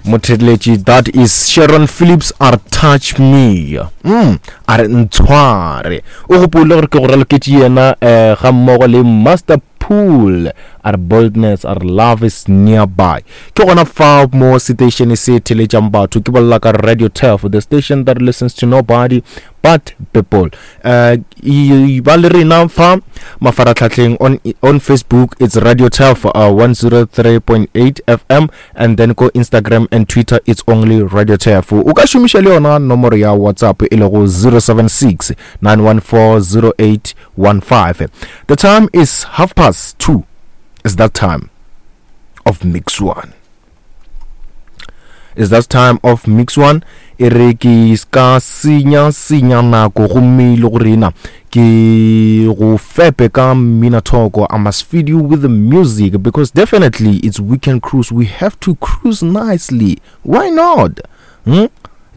Motheeletši, that is Sharon Phillips a re touch me. Mm, a re ntshware. O gopole gore ke go raloketše yena eh, ga mmogo le Master Pool a re boldness a re love is nearby. Ke gona fa mo station se theletšang batho ke bolela ka Radio Turf, the station that listens to nobody but people. Uh, ba le rena fa mafaratlhatlheng on, on Facebook it's Radio Turf uh, 103.8 FM and then ko Instagram and Twitter it's only Radio Turf. O ka šomiša le yona nomoro ya WhatsApp e lego 076 914 0815. The time is half past 2. It's that time of mix one. Is that time of mix one e re ke ska senya senya nako gomme e le go rena ke go fepe ka mmina thoko. I must feed you with the music because definitely it's weekend cruise. We have to cruise nicely. Why not? Hmm?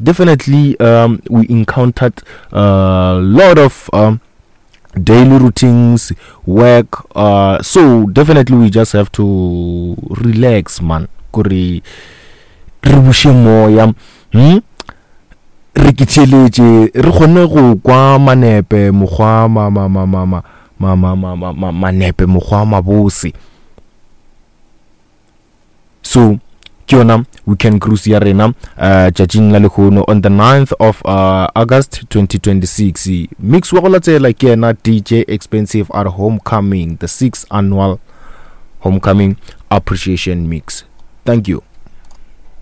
Definitely we encountered a lot of daily routines, work, so definitely we just have to relax, man. Kore re buše moya, Re ke theeletše, re kgone go kwa manepe mokgwa ma ma ma ma ma ma ma ma ma ma manepe mokgwa mabose. So ke yona weekend cruise ya rena tšatšing la lehono on the 9th of August 2026. Mix wa go latela ke yena DJ Expensive at Homecoming, the 6th annual Homecoming Appreciation Mix. Thank you.